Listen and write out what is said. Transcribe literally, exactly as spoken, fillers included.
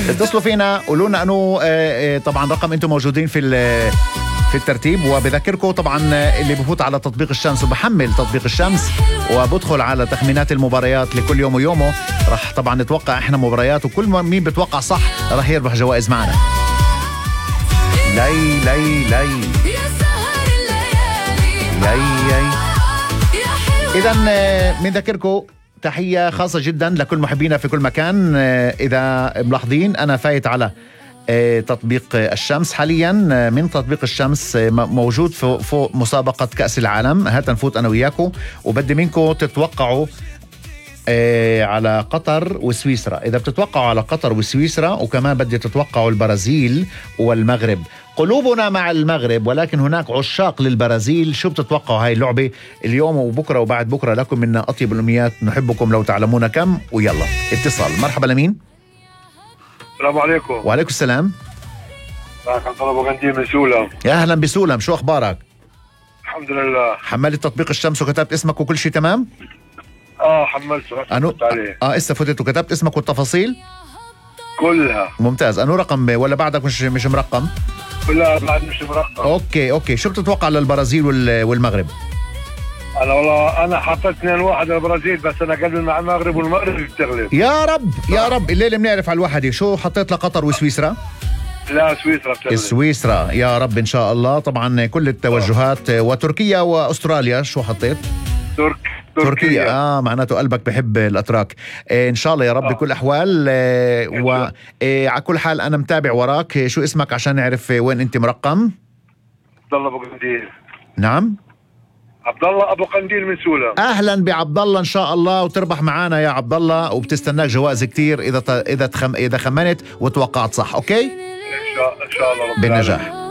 اتصلوا فينا قولوا لنا انه آه، آه، طبعا رقم انتم موجودين في في الترتيب. وبذكركم طبعا اللي بفوت على تطبيق الشمس وبحمل تطبيق الشمس وبدخل على تخمينات المباريات لكل يوم ويومه، رح طبعا نتوقع احنا مباريات، وكل ما مين بتوقع صح رح يربح جوائز معنا. لي لي لي لي لي اذا بنذكركم تحية خاصة جدا لكل محبينا في كل مكان. إذا ملاحظين أنا فايت على تطبيق الشمس حاليا. من تطبيق الشمس موجود فوق مسابقة كأس العالم. هات نفوت أنا وياكم وبدي منكم تتوقعوا على قطر وسويسرا. إذا بتتوقعوا على قطر وسويسرا وكمان بدي تتوقعوا البرازيل والمغرب. قلوبنا مع المغرب ولكن هناك عشاق للبرازيل. شو بتتوقعوا هاي اللعبة اليوم وبكرة وبعد بكرة؟ لكم منا أطيب الأمنيات، نحبكم لو تعلمون كم. ويلا اتصال. مرحبا لمين؟ السلام عليكم. وعليكم السلام. معك عبد الله ابو قنديل من سولم. يا أهلا بسولم، شو أخبارك؟ الحمد لله. حملت تطبيق الشمس وكتبت اسمك وكل شيء تمام؟ اه حملته أنو... عليه. اه اسا فتت وكتبت اسمك والتفاصيل كلها. ممتاز. انو رقم ولا بعدك مش مش مرقم؟ لا بعد مش مرقم. اوكي اوكي شو بتتوقع للبرازيل وال... والمغرب؟ انا والله انا حطيت اثنين واحد للبرازيل، بس انا قلبي مع المغرب والمغرب بتغلب. يا رب يا رب. الليله بنعرف على الوحده. شو حطيت لقطر وسويسرا؟ لا سويسرا بتغلب. سويسرا يا رب ان شاء الله. طبعا كل التوجهات. وتركيا واستراليا شو حطيت؟ ترك تركيا. تركيا اه معناته قلبك بحب الاتراك. آه ان شاء الله يا رب. آه. بكل الاحوال. آه وعلى آه كل حال انا متابع وراك. آه شو اسمك عشان نعرف وين انت مرقم؟ عبد الله ابو قنديل. نعم عبد الله ابو قنديل من سولم. اهلا بعبد الله ان شاء الله وتربح معانا يا عبد الله، وبتستناك جوائز كتير اذا ت... اذا تخم... اذا خمنت وتوقعت صح. اوكي ان شاء ان شاء الله رب بالنجاح.